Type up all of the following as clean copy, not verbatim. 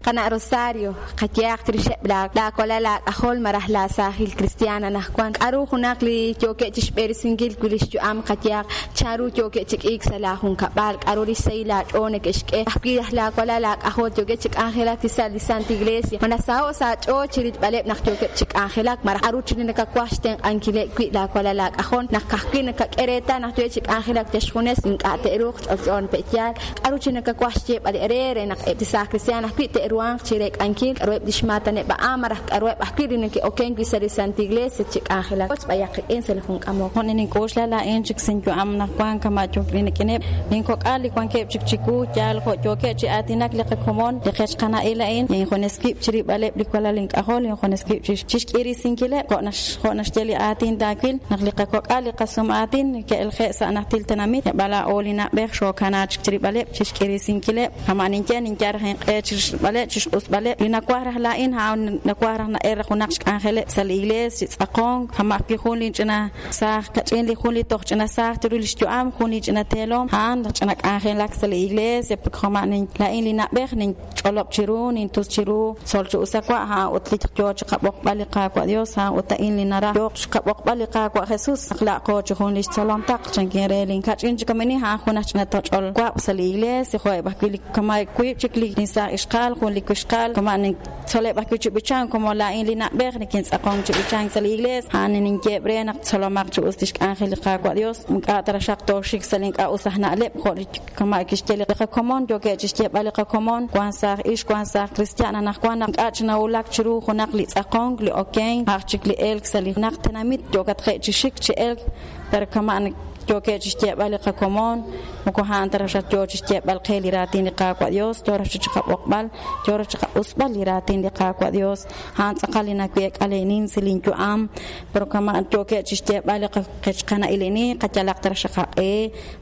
Qana' Rosario, qayehaq chirixeb' laawalal laak'ajol malaj laasaajil kristiaan anaqwan, k'aru junaq li yookeb' chi xb'eresinkil wi' li xyu'am qayehaq, chanru yookeb' chi k'iik sa' laajunkab'al, k'aru li xsahil aach'ool neke'xk'e, ajwi' laj laawalal laak'ajol yookeb' chi k'anjelak chi sa' li Santa Iglesia, ma nasaho'k sa' aach'ool chi rilb'aleb' naq yookeb' chi k'anjelak, malaj k'aru chik li nakawaj xtenq'ankileb' wi' laawalal laak'ajol naq ka'ajwi' nakak'e reetal naq yookeb' chi k'anjelak yal xjunes ink'a' te'ruuq ch'olch'o pe'yaal, k'aru chik nakawaj xyeeb'al eere re naq eb' li saaj kristiaan ajwi' te'ruhanq chi reek'ankil k'aruheb' li xmaataneb' a'an malaj k'aruheb' ajwi' li neke'okenk wi' sa' li Santa Iglesia chi k'anjelak. Wotz b'ayaq qik'in sa' li jun k'amok. Jo' nink'oxla laa'in chik sinyu'am naq wank kama' rik'ineb' linkok'al li wankeb' chik chiwu, yaal jo' yookeb' chi aatinak li qakomon, li qech qana'il a'in, injunes wib' chirilb'aleb' li walal ink'ajol, injunes wib' chi xk'irisinkileb', jo' naxye li aatin taawil naq li qakok'al li qasum aatin ke'elje' sa' najtil tenamit, yab'al laa'o li na'b'ej xookanaak chik chirilb'aleb' chi xk'irisinkileb'. Kama' ninye, ninyal raj inq'e chi xrilb'aleb', chi xq'usb'aleb'. Li nawaj raj laa'in, a'an nawaj raj na'el raj junaq xk'anjeleb' sa' li iglees, chi tz'aqonk, kama' ajwi' jun linch'ina saaj kach'in li jun li toj ch'ina saaj chiru li xyu'am, jun li ch'ina teelom, a'an raj ch'ina k'anjelak sa' li iglees, kama' laa'in li na'b'ej ninch'olob' chiru, nintus chiru, tzol chi us a wa', a'an ut li yo chi qab'oqb'al li Qaawa' Dios, a'an ut a'in li naraj yooq xqab'oqb'al li Qaawa' Jesus, naq laa'qo chi jun li xtzolom taql, chankin re linkach'in chik kamani, a'an jun aj ch'ina toch'ol wab' sa' li iglees, jo'eb' ajwi' li kama' wiib' chik li saaj ixqa'al, jun li wixqa'al, kama' nintzoleb' ajwi' chi b'ichank, como laa'in li na'b'ej nikintz'aqonk chi b'ichank sa' li iglees, a'an ninyeeb' re naq tzolomaq chi us li xk'anjel li Qaawa' Dios, ink'a' ta raxaq tooxik sa' li ink'a' us aj na'leb' jo' li kama' kixye li qakomon, yookeb' chi xyeeb'al li qakomon, wank saaj ixq, wank saaj kristiaan, anaqwan naq ink'a' chi nawulak chiru junaq li tz'aqonk, li okenk, aj chik li elk sa' li junaq tenamit yookatqe' chi xik chi elk, pero kama' yookeb' chi xyeeb'al li qakomon, moko a'an ta raj yo chi xyeeb'al qe li raatin li Qaawa' Dios, yo raj chi qab'oqb'al, yo raj chi qaq'usb'al li raatin li Qaawa' Dios, a'an tz'aqal li naweek'a leenin sa' linyu'am, pero kama' yookeb' chi xyeeb'al li qechqana'ilini, qayalaq ta raj xaqaq'e,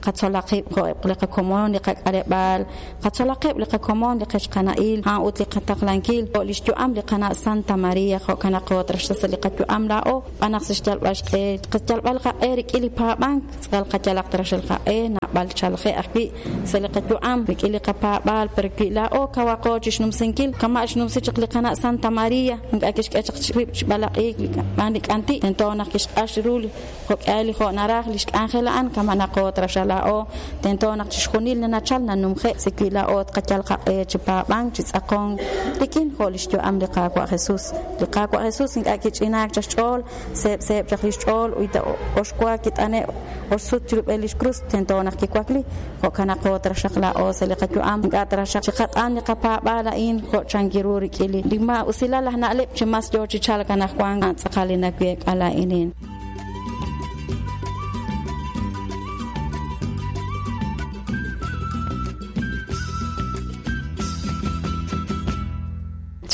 qatzolaq qib' jo'eb' li qakomon, li qak'aleb'aal, qatzolaqeb' li qakomon, li qechqana'il, a'an ut li qataqlankil, jo' li xyu'am li qana' Santa Maria, jo'kan naq qo trax sa' li qayu'am laa'o, b'an naq sa' xyalb'al xq'e, qayalb'al qaq'e rik'in li paab'ank, tz'aqal qayalaq trax li qaq'e, naab'al chalje' ajwi' sa' li qayu'am, rik'in li qapaab'aal, pero wi laa'o kawaqo chi xnumsinkil, kama' xnumsi chaq li qana' Santa Maria, ink'a' kixk'e chaq rib' chi b'alaq'iik xb'aan li k'anti', tento naq kixq'ax ru li jo'k'ihal li jo' naraj li xk'anjel a'an, kama' naqo traxal laa'o, tento naq chixjunil li nachal nanumje', si wi laa'o tqayal qaq'e chi paab'ank, chi tz'aqonk rik'in jo' li xyu'am li Qaawa' Jesus. Li Qaawa' Jesus ink'a' kich'inaak chaq xch'ool, seeb' seeb' chaq li xch'ool, uyta oxwa kit'ane' oxsut chirub'el li xkrus, tento naq kiwakli, jo'kan naqo traxaq laa'o sa' li qayu'am, ink'a' traxaq chiqat'an li qapaab'aal a'in jo' chankiru rik'in li maa'usilal aj na'leb' chi mas yo chi chalk anaqwan, a'an tz'aqal li naweek'a laa'inin.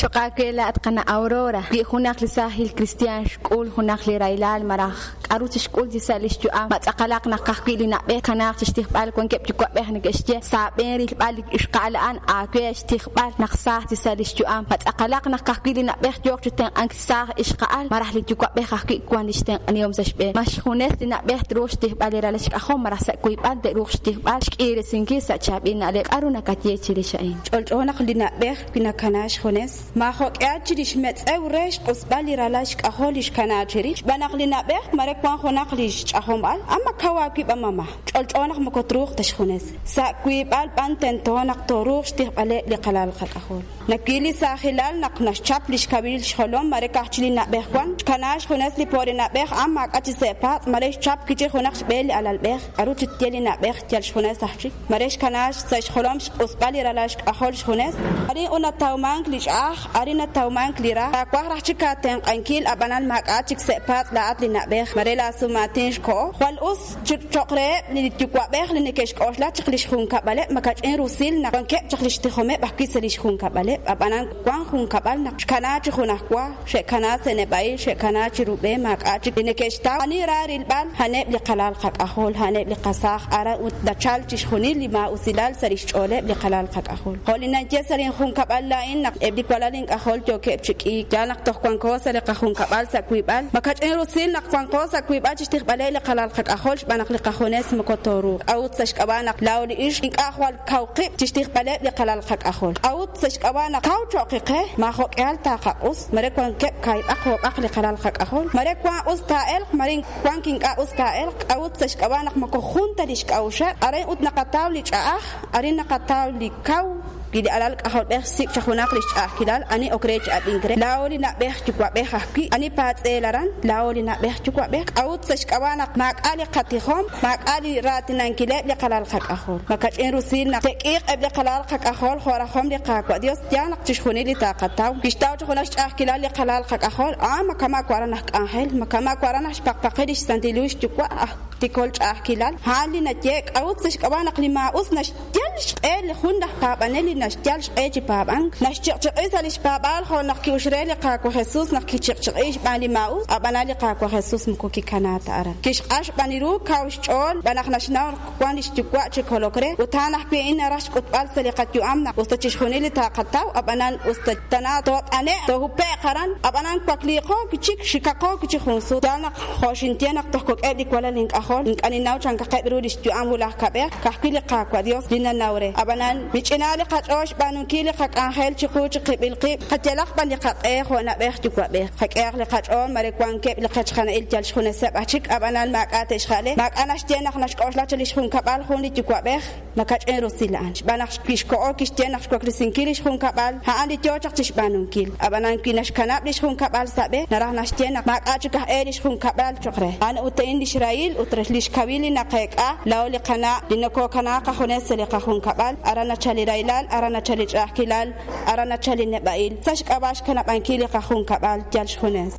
Cho'q aawe laa'at qana' Aurora, wi junaq li saajil kristiaan xk'ul junaq li rahilal malaj k'aru chixk'ul chi sa' li xyu'am, ma tz'aqalaq naq ka'ajwi' li na'b'ej kanaaq chi xtijb'al, wankeb' yuwa'b'ej neke'xye sa' aab'een rilb'al li ixqa'al a'an aawe xtijb'al naq saaj chi sa' li xyu'am, ma tz'aqalaq naq ka'ajwi' li na'b'ej yooq chi tenq'ank saaj ixqa'al malaj li yuwa'b'ej ajwi' wank li xtenq'anihom sa' xb'een, ma xjunes li na'b'ej truuq xtijb'al li ralal xk'ajol malaj sa' wiib'al te'ruuq xtijb'al xk'iiresinkil sa' chaab'il na'leb', k'aru nakaye chirix a'in? Ch'olch'o naq li na'b'ej wi nakanaak xjunes, maajo'k'ihal chirix xmetz'ew re xq'usb'al li ralal xk'ajol li xkanaak chirix, xb'aan naq li na'b'ej mare wank junaq li xch'ajomb'al, a ma kaw aawib' a mama. Ch'olch'o naq moko truuq ta xjunes. Sa' wiib'al b'an tento naq tooruuq xtijb'aleb' li qalal qak'ajol. Nawil li saajilal naq naxchap li xkawil xjolom mare ka'aj chi li na'b'ej wank, xkanaak xjunes li po'ri na'b'ej a maak'a' chi se'paatz' mare xchap wi' chik junaq xb'e li alalb'ej, k'aru chi tye li na'b'ej yal xjunes aj chik. Mare xkanaak sa' xjolom xq'usb'al li ralal xk'ajol xjunes. Arin ut natawmank li ch'a'aj, arin natawmank li ra. Taawaj raj chik aatenq'ankil, ab'anan maak'a' chik se'paatz' laa'at li na'b'ej. Mare laasumaatin xkoho. Jwal us chik cho'q reheb' li yuwa'b'ej li neke'xk'oxla chaq li xjunkab'aleb' makach'in rusil naq wankeb' chaq li xtijomeb' ajwi' sa' li xjunkab'aleb'. Ab'anan wank junkab'al naq xkanaak chi junajwa. Xe'kanaak sa' neb'a'il, xe'kanaak chiru b'e, maak'a' chik li neke'xtaw. Ani ra rilb'al? A'aneb' li qalal qak'ajol, a'aneb' li qasaaj aran ut nachalk chixjunil li maa'usilal sa' li xch'ooleb' li qalal qak'ajol. Jo' li ninye sa' linjunkab'al laa'in naq eb' li walal ink'ajol yookeb' chi k'iik, yaal naq toj wanko sa' li qajunkab'al sa' wiib'al. Makach'in rusil naq wanqo sa' wiib'al chi xtijb'aleb' li qalal qak'ajol xb'aan naq li qajunes moko tooruuq. K'a'ut sa' xk'ab'a' naq laa'o li ixq ink'a' jwal kaw qib' chi xtijb'aleb' li qalal qak'ajol? K'a'ut sa' xk'ab'a' xk'ab'a' naq kaw cho'qi qe, maajo'k'ihal taaqaq'us, mare wankeb' kaahib'aq oob'aq li qalal qak'ajol, mare wank us taa'elq, mare wank ink'a' us taa'elq, k'a'ut sa' xk'ab'a' naq moko jun ta li xk'a'uxeb', arin ut naqataw li ch'a'aj, arin naqataw li kaw, wi li alal k'ajolb'ej xsik' chaq junaq li xch'a'ajkilal, ani ok re chi ab'ink re, laa'o li na'b'ej yuwa'b'ej ajwi', ani paatz'eel aran, laa'o li na'b'ej yuwa'b'ej, k'a'ut sa' xk'ab'a' naq maak'a' li qatijom, maak'a' li raatinankileb' li qalal qak'ajol. Makach'in rusil naq te'k'iiq eb' li qalal qak'ajol jo' rajom li Qaawa' Dios, yaal naq chixjunil li taqataw. Kixtaw chaq junaq xch'a'ajkilal li qalal qak'ajol, ma kama' waran aj k'anjel, ma kama' waran aj xpaqpaqil lix Santil Hu xyuwa' aj tikol ch'a'ajkilal. A'an li nayehe' k'a'ut sa' xk'ab'a' naq li maa'us naxyal xq'e li jun laj paab'anel li naxyal xq'e chi paab'ank, naxchiq'chiq'i sa' lix paab'aal jo' naq ki'ux re li Qaawa' Jesus naq kichiq'chiq'i xb'aan li maa'us, ab'anan li Qaawa' Jesus moko kikana ta aran. Kixq'ax b'an ru kaw xch'ool xb'aan naq naxnaw naq wan lix yuwa' chi kolok re, ut a'an ajwi' a'in naraj xk'utb'al sa' li qayu'am naq us ta chixjunil li taqataw, ab'anan us ta tana toot'ane'q, toohupe'q aran, ab'anan wakliiqo wi' chik, xikaqo wi' chik jun sut. Yaal naq jo' xinye naq toj kok'eb' li walal ink'ajol, ink'a' ninnaw chankaqeb' ru lix yu'am wulaj kab'ej, ka'ajwi' li Qaawa' Dios li nanaw re. Ab'anan, mich'ina li qach'ool xb'aanunkil li qak'anjel chiqu chiqib'il qib', qayalaq b'an li qaq'e jo' na'b'ej yuwa'b'ej. Qak'ehaq li qach'ool mare wankeb' li qechqana'il yal xjuneseb' aj chik, ab'anan maak'a' te'xja'le, maak'a' naxye naq naxk'oxla chi li xjunkab'al jun li yuwa'b'ej, makach'in rusil a'an. Xb'aan naq kixkoho kixye naq xwaklesinkil li xjunkab'al, a'an li yo chaq chi xb'aanunkil. Ab'anan wi naxkanab' li xjunkab'al sa' b'e, naraj naxye naq maak'a' chik aj e li xjunkab'al cho'q re. A'an ut a'in li xrahil ut li xkawil li naqeek'a, laa'o li qana' li nokokanaak qajunes sa' li qajunkab'al, aran nachal li rahilal, aran nachal li ch'a'ajkilal, aran nachal li neb'a'il, sa' xk'ab'a' xkanab'ankil li qajunkab'al yal xjunes.